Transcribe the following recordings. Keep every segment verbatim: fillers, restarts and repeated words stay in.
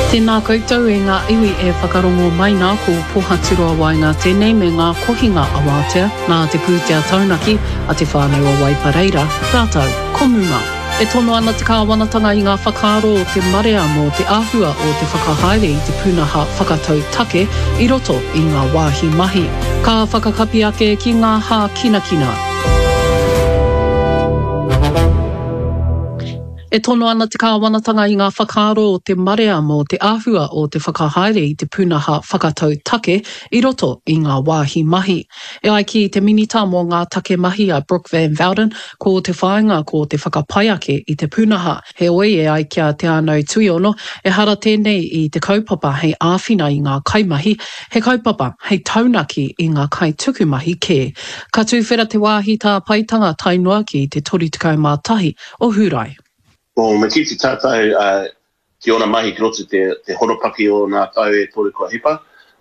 Tēnā koutou e ngā iwi e whakarongo mai nā ko Pohaturoa Waenga tēnei me ngā kohinga awātea nā te pūtea taunaki a Te Whānau o Waipareira rātou ko Muma. E tono ana te kāwanatanga i ngā whakaaro o te marea mō te āhua o te whakahaere i te pūnaha whakatau take i roto i ngā wāhi mahi. Ka whakakapi ake ki ngā hākinakina. E tono ana te kāwanatanga i ngā whakaaro o te marea mō te āhua o te whakahaere i te pūnaha whakatau take i roto i ngā wāhi mahi. E ai ki te minita mō ngā take mahi a Brooke Van Velden, ko te whāinga ko te whakapai ake i te pūnaha. Heoi e ai ki a Te Anau Tuiono, ehara tēnei i te kaupapa hei āwhina i ngā kaimahi, he kaupapa hei taunaki i ngā kaitukumahi kē. Ka tuwhera te wāhi tāpaetanga tae noa ki te toru tekau mā tahi o Hūrae. Well, me kite tātou uh, ki ōna mahi ki roto te, te horopaki o nā tau e toru kua hipa.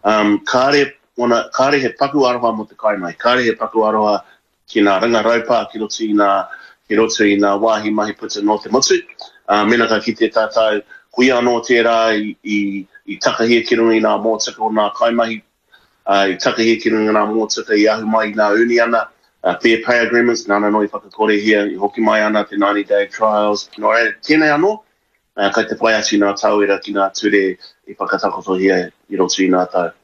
Um, kāre, ona, kāre he paku aroha mō te kaimahi, kāre he paku aroha ki nā ringa raupā ki roto i nā, ki roto i nā wāhi mahi puta nō te motu. Uh, mena ka kite tātou, koia anō tērā i, i, i takahia ki runga i nā mōtika o nā kaimahi, uh, i takahia ki runga i nā mōtika i ahu mai i nā uniana, uh, fair pay agreements, nāna anō i whakakorehia, i hoki mai ana te ninety day trials. Nō reira, tēnei anō, uh, kai te whai atu nā tauira ki nā ture i whakatakotohia i roto i nā tau.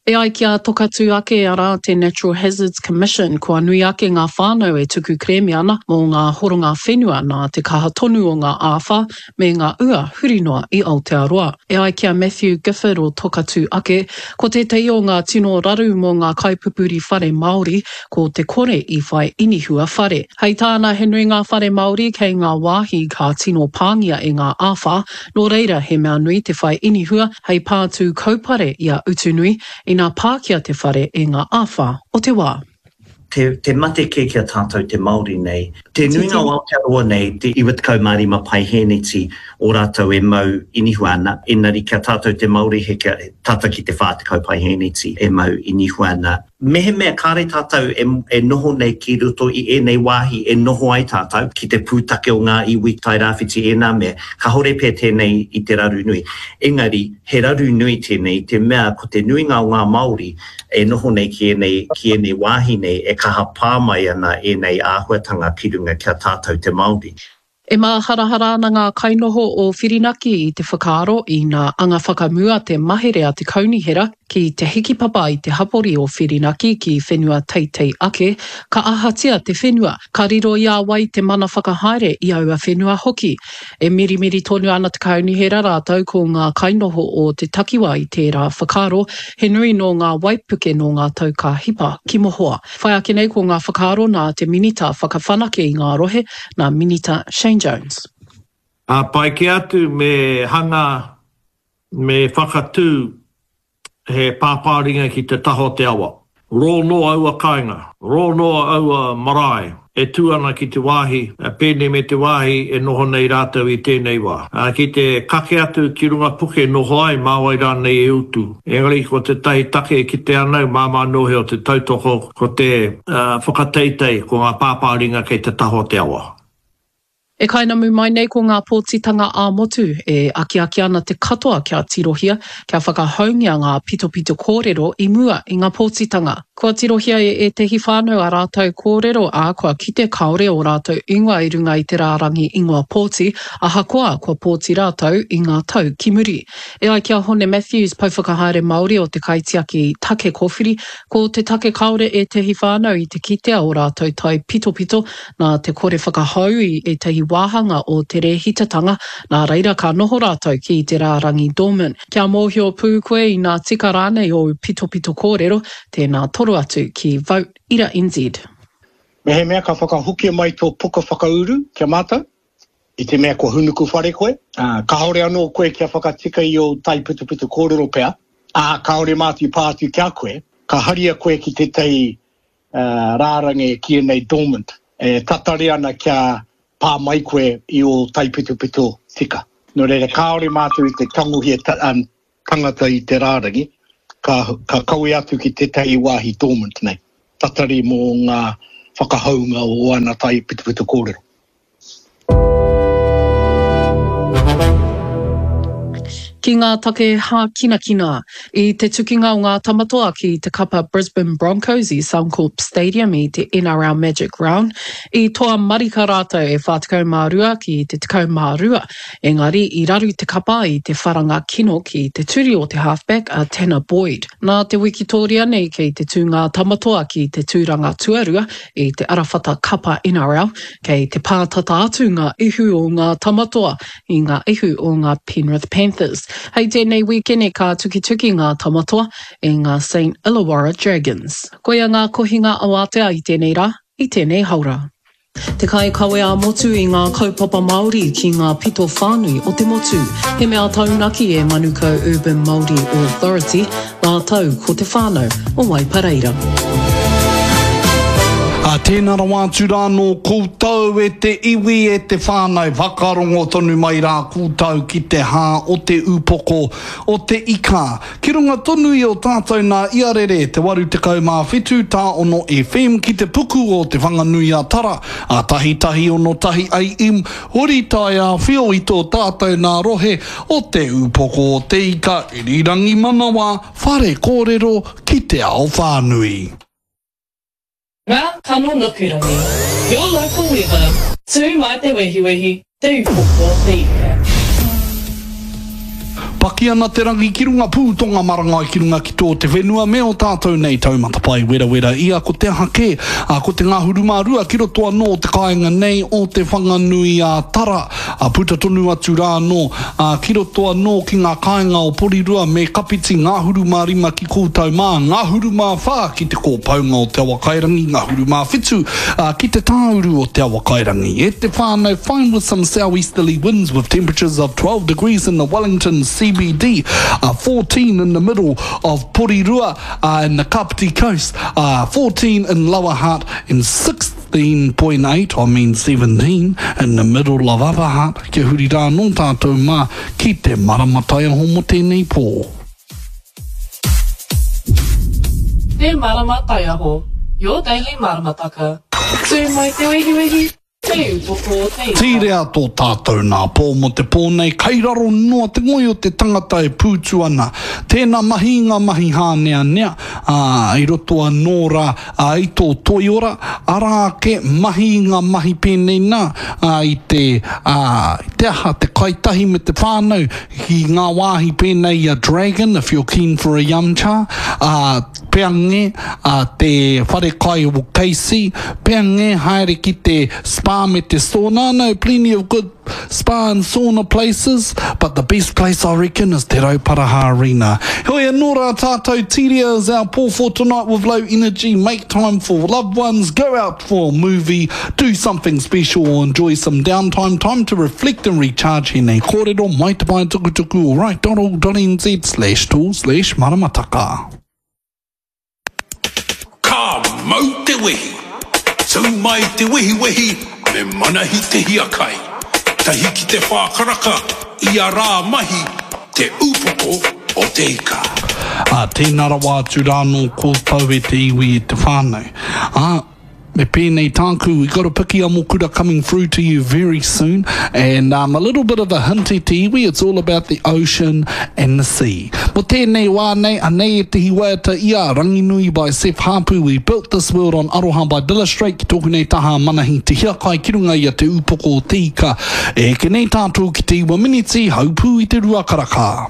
E ai ki a Tokatū ake, arā te Natural Hazards Commission, kua nui ake ngā whānau e tuku kerēme ana mō ngā horonga whenua nā te kaha tonu o ngā āwhā me ngā ua huri noa i Aotearoa. E ai ki a Matthew Gifford o Tokatū ake, ko tētahi o ngā tino raru mō ngā kaipupuri whare Māori ko te kore i whai inihua whare. Hei tāna he nui ngā whare Māori kei ngā wāhi ka tino pāngia e ngā āwhā, nō reira he mea nui te whai inihua hei pātū kaupare i a Utunui ina pākia te whare e ngā āwhā o te wā. Te, te mate kē ki a tātou te Māori nei. Te nuinga o Aotearoa nei, te iwa tekau mā rima paihēneti o rātou e mau inihua ana, engari ki a tātou te Māori he kia tata ki te whā tekau paihēneti e mau inihua ana. Mehemea kāre tātou e, e noho nei ki roto i ēnei wāhi e noho ai tātou, ki te pūtake o ngā iwi Tairāwhiti ēnā mea, kāore pea tēnei i te raru nui. Engari, he raru nui tēnei i te mea ko te nuinga o ngā Māori e noho nei ki ēnei, ki ēnei wāhi nei e kaha pā mai ana ēnei āhuatanga ki runga ki a tātou te Māori. E māharahara ana ngā kainoho o Whirinaki i te whakaaro ina anga whakamua te mahere a te kaunihera ki te hikipapa i te hapori o Whirinaki ki whenua teitei ake, ka ahatia te whenua, ka riro i a wai te mana whakahaere i aua whenua hoki. E mirimiri tonu ana te kaunihera rātou ko ngā kainoho o te takiwā i tērā whakaaro, he nui nō ngā waipuke nō ngā tau ka hipa ki mohoa. Whai ake nei ko ngā whakaaro nā te Minita whakawhanake i ngā rohe, nā Minita Shane Jones. A pai kē atu me hanga, me whakatū he pāpāringa ki te taha o te awa. Rō noa aua kāinga, rō noa aua marae e tū ana ki te wāhi, pēnei me te wāhi e noho nei rātou i tēnei wā. Ki te kake atu ki runga puke noho ai, mā wai rānei e utu. Engari ko tētahi take e kite ana au, māmā noa he o te tautoko, ko te whakateitei, ko ngā pāpāringa kei te taha o te awa. E kainamu mai nei ko ngā pōtitanga ā-motu e akiaki ana te katoa kia tirohia, kia whakahoungia ngā pitopito kōrero i mua i ngā pōtitanga. Kua tirohia e ētehi whānau ā rātou kōrero, ā, kua kite kāore ō rātou ingoa i runga i te rārangi ingoa pōti, ahakoa kua pōti rātou i ngā tau ki muri. E ai ki a Hone Matthews, Pouwhakahaere Māori o te Kaitiaki Take Kōwhiri, ko te take kāore ētehi whānau i te kitea ō rātou taipitopito nā te kore whakahou i ētahi wāhanga o te rēhitatanga, nā reira ka noho rātou ki te rārangi dormant. Kia mōhio pū koe inā tika rānei ōu pitopito kōrero, tēnā toro atu ki Vote Ira N Z. Mehemea ka whakahokia mai tō puka whakauru ki a mātou, i te mea kua hunuku whare koe, ā, kāore anō koe kia whakatika i ō taipitopito kōrero pea, ā, kāore mātou i pā atu ki a koe, ka haria koe ki tētahi rārangi e kīia nei dormant, e tatari ana kia pā mai koe i ō taipitopito tika. Nō reira, kāore mātou i te tangohia tangata i te rārangi, ka, ka kawe atu ki tētahi wāhi dormant nei, tatari mō ngā whakahounga o ana taipitopito kōrero. Ki Ki ngā take hākinakina, i te tukinga o ngā Tamatoa ki te kapa Brisbane Broncos i Suncorp Stadium i te NRL Magic Round, i toa marika rātou e whā tekau mā rua ki te tekau mā rua, engari i raru te kapa i te wharanga kino ki te turi o te halfback a Tanner Boyd. Nā te wikitōria nei kei te tū ngā Tamatoa ki te tūranga tuarua i te arawhata kapa NRL, kei te pātata atu ngā ihu o ngā Tamatoa i ngā ihu o ngā Penrith Panthers. Hei tēnei wīkene ka tukituki ngā Tamatoa i ngā Saint Illawarra Dragons. Koia ngā kohinga awātea i tēnei rā, i tēnei haora. Te kaikawe ā-motu i ngā kaupapa Māori ki ngā pito whānui o te motu. He mea taunaki e Manukau Urban Māori Authority rātou ko te whānau o Waipareira. Ā, tēnā rawa atu rā nō koutou e te iwi, e te whānau, whakarongo tonu mai rā koutou ki te hā o te upoko o te ika. Ki runga tonu i o tātou nā Iarere, te waru tekau mā whitu tā ono FM ki te puku o Te Whanganui-a-Tara, a tahi tahi ono tahi AM, huri taiāwhio i tō tātou nā rohe o te upoko o te ika, irirangi manawa, whare kōrero ki te ao whānui. Ngā kano nukurangi, Your local weather, Tū mai te wehiwehi, Te Upoko o te Ika. Paki ana te rangi ki runga pū tonga marangai ki runga ki tō te whenua me ō tātou nei taumata pae werawera ia ko te aha kē, ā, ko te ngahuru mā rua ki roto anō o te kāinga nei o Te Whanganui ā Tara, ā, puta tonu atu rā anō, ā, ki roto anō ki ngā kāinga o Porirua me Kapiti ngahuru mā rima ki koutou mā, ngahuru mā whā ki te kōpaunga o Te Awakairangi, ngahuru mā whitu, ā, ki te tāuru o Te Awakairangi. E te whānau, fine with some southeasterly winds with temperatures of twelve degrees in the Wellington CBD, uh, fourteen in the middle of Porirua uh, in the Kapiti Coast, uh, fourteen in Lower Hutt and sixteen point eight, I mean seventeen, in the middle of Upper Hutt. Kia huri rā anō tātou mā ki te marama taiaho mō tēnei pō. Te Marama Taiaho, your daily maramataka. Tū mai te wehiwehi, te upoko o te ika. Tīrea tō tātou nā pō mō te pō nei, kai raro noa te ngoi o te tangata e pūtu ana. Tēnā mahi i ngā mahi hāneanea, ā, i roto anō rā, ā, i tō toiora, arā ake, mahi i ngā mahi pēnei nā, ā, i te, ā, i te aha, te kai tahi me te whānau, ki ngā wāhi pēnei i a Dragon, if you're keen for a yum cha, ā, pea nge, ā, te whare kai o KC, pea nge haere ki te spa me te sauna, no, plenty of good spa and sauna places, but the best place I reckon is Te Rauparaha Arena. Heoi anō rā tātou, Tiria is our pō for tonight with low energy, make time for loved ones, go out for a movie, do something special or enjoy some downtime, time to reflect and recharge he nei kōrero mai te pae tukutuku o right.org.nz slash tool slash maramataka. Ka mau te wehi! Tū mai te wehiwehi me Manahi Te Hiakai. Tahi ki te whā karaka, ia rā mahi, Te Upoko o te Ika. Ā, tēnā rawa atu rā nō koutou e te iwi e te whānau. Ā, me pēnei tāku, we got a piki amokura coming through to you very soon, and um, a little bit of a hint e te iwi, it's all about the ocean and the sea. Mo tēnei wā nei, anei ētehi waiata i a Ranginui by Seth Hapu, We Built This World on Aroha by Dilla Strait, ki tōku nei taha Manahi Te Hiakai ki runga i a Te Upoko o Te Ika. E eke nei tātou ki te iwa miniti, haupū i te rua karaka.